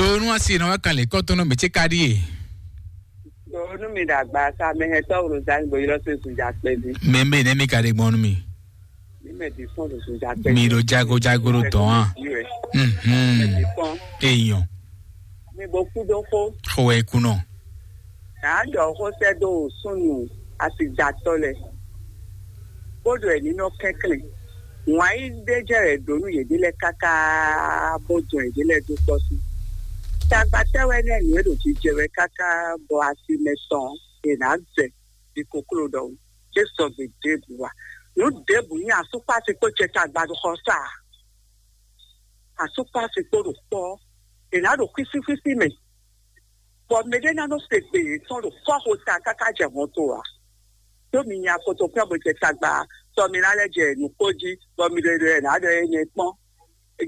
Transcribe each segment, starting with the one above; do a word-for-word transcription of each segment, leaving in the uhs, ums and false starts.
Onu asi na wa kan le kɔtɔnɔ mɛ ce ka ɖi ye. Onu mi ɖagba sa mɛ hɛn tɔ wolo zan bo yɔrɔ se su ja kpɛ bi. Mɛ mɛ ne mi ka ɖe gbɔn nu mi. Mi mɛ di fɔn do su ja kpɛ. Mi ɖo jago jago ɖo dɔn a. Mhm. Eyɔn. Mi bo kú dó xó. Xo wɛ kunɔ. Nǎ ɖɔ xó sɛ́ dó súnnu asidatɔ́ lɛ́ɛ, bó ɖo ɛ̌ ní nɔ kɛnklɛ́n. Wǎn yí ɖé jɛ wɛ ɖǒ nú yěɖée lɛ́ɛ káká, bó dɔn yěɖée lɛ́ɛ dó kpɔ́ sí. Tagbatɛ́ wɛ nɛ́ nǔ e ɖo jijɛ wɛ káká bɔ asi mɛ tɔn è nǎ zɛ ɖi kokló ɖɔhun. É sɔgbe ɖěbǔ ǎ. Nǔ ɖěbǔ nyí asúkpási kpó cɛ tagba ɖo xɔ sá ǎ. Asúkpási kpó ɖo kpɔ́, è nǎ ɖo xwísíxwísí mɛ. Bɔ mɛɖé ná nɔ se gbe yětɔn ɖo fɔ́xota káká jɛ hɔn to ǎ. Ɖó mi nya kotokwín ɔ́ bó jɛ tagba, sɔ mi ná lɛ́ jɛ nǔ kó jí, bɔ mi ɖo ɖo ɛ nǎ ɖɔ énɛ́ kpɔ́n.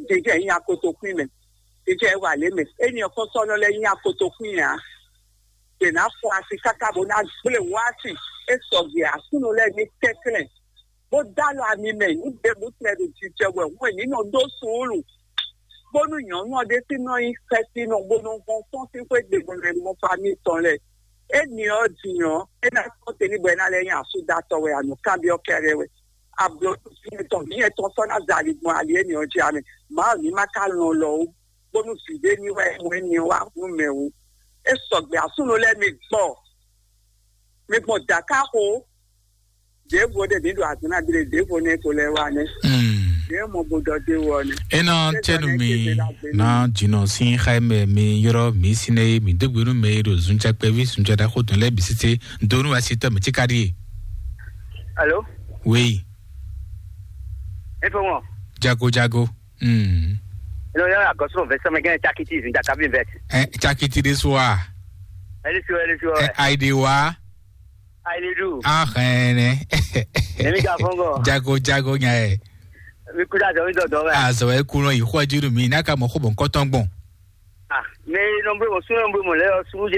Jijɛ nyí nya kotokwín mɛ, jijɛ wà lě mɛ. Éni ɔ́ kɔn sɔ́ nɔ lɛ́ nyí nya kotokwín ǎ. Yě ná fɔ asi káká bó ná gblé wási. É sɔgbe Aklúnɔ lɛ́ɛ ní kɛnklɛ́n, bó dó alɔ ami mɛ nǔ ɖěbǔ tɛn ɖo jijɛ wɛ hwɛ̌n ní nɔ ɖó suúlu, bónú nyɔ̌nu ɔ́ ɖésú nɔ nyí xɛsinɔ bó nɔ hɔn fɔ́n sín xwé gbe bó nɔ mɔ famíi tɔn lɛ́ɛ. Éni ɔ́ din ɔ́, é ná kpɔ́n te ní bɔ é ná lɛ́ nyí asúdatɔ́ wɛ, anǔkanbyɔ́ kɛ́ɖɛ́ wɛ. Ablɔ̌ɖusí tɔn mǐ yɛtɔn sɔ́ ná za ali gbɔn ali éni ɔ́ jí amɛ. Mawu ní ma ka lɔn lɔ ó, bónú vǐ ɖé ní wɛ mɔ éni ɔ́ wá nú mɛ wú. É sɔgbe Aklúnɔ lɛ́ɛ mi gbɔ. Mi gbɔn dǎká xo. Ɖěvo ɖé mǐ ɖo azɔ̌ ná ɖe ɖěvo nɛ́ ko lɛ́ɛ wá nɛ́. Ɖě mɔ bo ɖɔ dé wɔ nɛ́. Ena tenu mi na dzinɔ sin xa mɛ mi yɔrɔ mi sine mi dogbe nu mɛ ɖo zunca kpɛvi zunca da xo tun lɛ bi sise donu asi tɔ mi ti ka di. Alo. Oui. Efo ŋɔ. Jago jago. Hmm. Eno yɔrɔ agɔsɔrɔ vɛsɛ mɛ gɛn cakiti zunca kabi vɛt. Eh, cakiti de so a. Eli so eli so. Eh, aide wa. Aide du. Ah, eh, ne. Emi ka fɔngɔ. Jago jago nya e. Mi kuda zɔ mi dɔdɔ mɛ. Ah, zɔ e kunɔ yi xɔ juru mi na ka mɔ xo bɔn kɔtɔn gbɔn. Ah, mais non bro, so non bro mo le o suje.